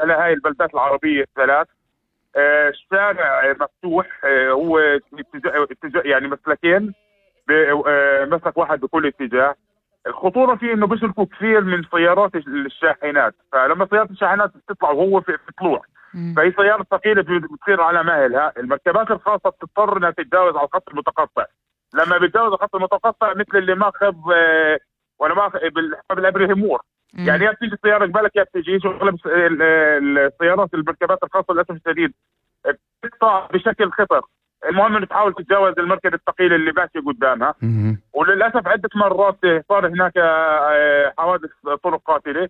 على هاي البلدات العربية الثلاث. الشارع مفتوح، هو يعني مسلكين، مسلك واحد بكل اتجاه. الخطورة فيه انه بيسلكوا كثير من سيارات الشاحنات، فلما سيارات الشاحنات بتطلع وهو في طلوع، فهي سيارة ثقيلة بتصير على مهلها. المركبات الخاصة بتضطر انها تتجاوز على الخط المتقطع. لما بتجاوز الخط المتقطع مثل اللي ماخذ ولا ماخذ بالابريهيمور، يعني يا بتيجي السيارة قبلك يا بتيجي. اغلب السيارات المركبات الخاصة للاسف الشديد بتقطع بشكل خطر. المهم انه تحاول تتجاوز المركبة الثقيلة اللي ماشية قدامها. وللاسف عدة مرات صار هناك حوادث طرق قاتلة.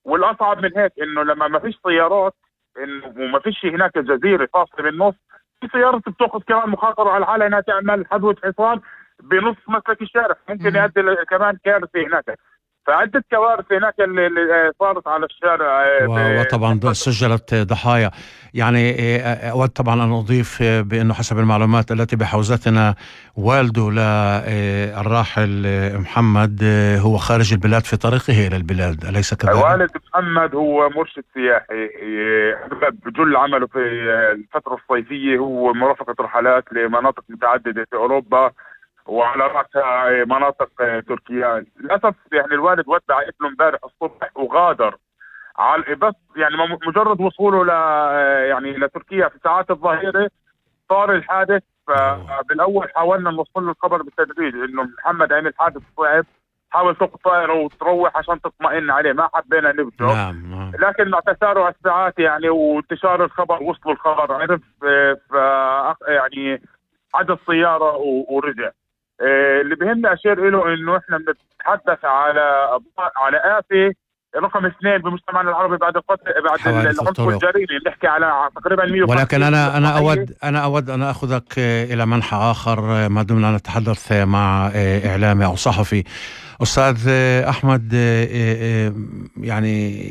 والاصعب من هيك انه لما ما فيش سيارات، انه وما فيش هناك جزيرة فاصلة بالنص، في سيارة بتاخذ كمان مخاطرة على حالها انها تعمل حذوة حصان بنص مسلك الشارع، ممكن يؤدي كمان كارثة هناك. فعدة كوارث هناك اللي صارت على الشارع. وطبعا سجلت ضحايا. يعني أود طبعا أن أضيف بأنه حسب المعلومات التي بحوزتنا والده للراحل محمد هو خارج البلاد في طريقه إلى البلاد، أليس كذلك؟ والد محمد هو مرشد سياحي، بجل عمله في الفترة الصيفية هو مرافقة رحلات لمناطق متعددة في أوروبا، وعلى رأسها مناطق تركيا. للأسف يعني الوالد ودع ابنه امبارح الصبح وغادر بس يعني مجرد وصوله يعني لتركيا في ساعات الظهيرة صار الحادث. فبالأول حاولنا نوصل له الخبر بالتدريج إنه محمد عمل حادث صعب، حاول تاخذ طائرة وتروح عشان تطمئن عليه، ما حبينا نبدأ. نعم. لكن مع تسارع الساعات يعني وانتشار الخبر وصلوا الخبر، عرف يعني عدى السيارة ورجع. اللي بهمنا أشير له إنه إحنا بنتحدث على آفة رقم 2 بمجتمعنا العربي بعد العنف والجريمة. بنحكي على تقريبا 150. ولكن أنا أود أن أخذك إلى منحى آخر ما دمنا نتحدث مع إعلامي أو صحفي. أستاذ أحمد، يعني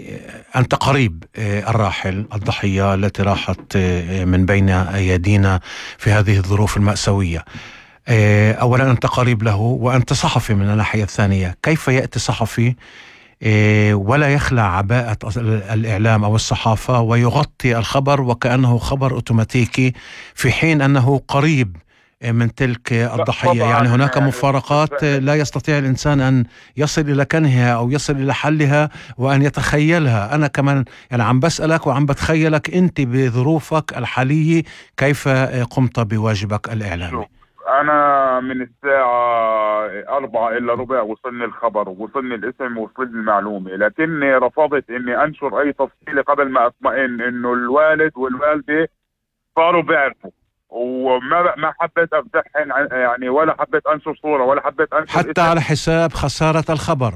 أنت قريب الراحل الضحية التي راحت من بين أيدينا في هذه الظروف المأساوية. أولا أنت قريب له وأنت صحفي من الناحية الثانية. كيف يأتي صحفي ولا يخلع عباءة الإعلام أو الصحافة ويغطي الخبر وكأنه خبر أوتوماتيكي في حين أنه قريب من تلك الضحية؟ يعني هناك مفارقات لا يستطيع الإنسان أن يصل إلى كنهها أو يصل إلى حلها وأن يتخيلها. أنا كمان يعني عم بسألك وعم بتخيلك أنت بظروفك الحالية كيف قمت بواجبك الإعلامي. أنا من الساعة 4 إلا ربع وصلني الخبر، وصلني الاسم، وصلني المعلومة، لكني رفضت إني أنشر أي تفصيلة قبل ما أطمئن إنه الوالد والوالدة صاروا بيعرفوا. وما حبيت أفتحن يعني، ولا حبيت أنشر صورة، ولا حبيت أنشر حتى اسم على حساب خسارة الخبر.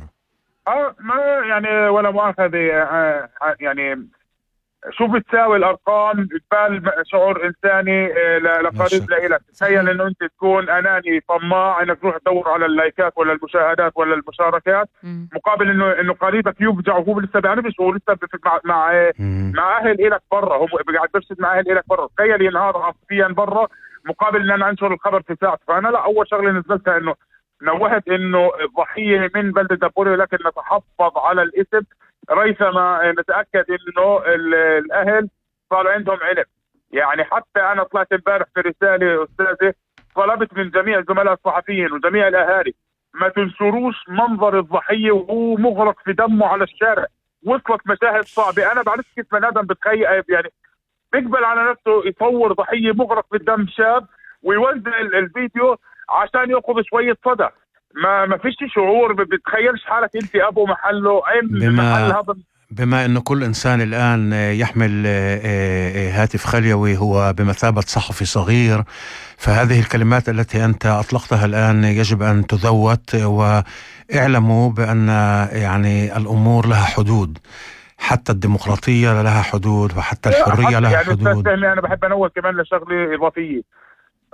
ما يعني ولا مؤاخذة. يعني شو بتساوي الارقام بال شعور انساني لقريب لإلك. تخيل انه انت تكون اناني طماع انك تروح تدور على اللايكات ولا المشاهدات ولا المشاركات، مقابل انه قريبك يفجع وهو لسه بيعرفش، وهو لسه مع اهل إلك برا، هو قاعد برشد مع اهل إلك برا. تخيل ينهار عاطفيا برا مقابل ان انا انشر الخبر في ساعه. فانا لا، اول شغله نزلتها انه نوهت انه الضحيه من بلده دبوري، لكن نتحفظ على الاسم ريثما نتأكد انه الاهل صار عندهم علم. يعني حتى انا طلعت امبارح في رسالة استاذة، طلبت من جميع الزملاء الصحفيين وجميع الاهالي ما تنشروش منظر الضحية وهو مغرق في دمه على الشارع. وصلت مشاهد صعبة. انا بعرف كيف بني ادم بتخيل يعني بيقبل على نفسه يصور ضحية مغرق في الدم شاب ويوزع الفيديو عشان ياخذ شوية صدى. ما فيش شعور، بتخيلش حالك انت ابو محله محل هذا. بما انه كل انسان الان يحمل هاتف خليوي هو بمثابة صحفي صغير، فهذه الكلمات التي انت اطلقتها الان يجب ان تذوت. واعلموا بان يعني الامور لها حدود، حتى الديمقراطية لها حدود وحتى الحرية لها يعني حدود. انا بحب انوه كمان لشغله اضافيه.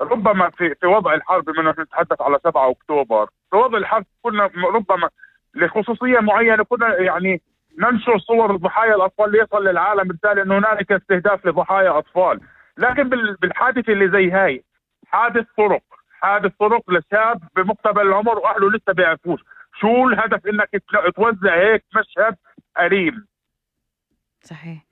ربما في وضع الحرب، بما انه نتحدث على 7 أكتوبر، في وضع الحرب كنا ربما لخصوصية معينة كنا يعني ننشر صور ضحايا الأطفال ليصل للعالم رسالة أنه هنالك استهداف لضحايا أطفال. لكن بالحادثة اللي زي هاي، حادث طرق لشاب بمقتبل العمر وأهله لسه بيعرفوش شو الهدف، إنك توزع هيك مشهد أليم. صحيح.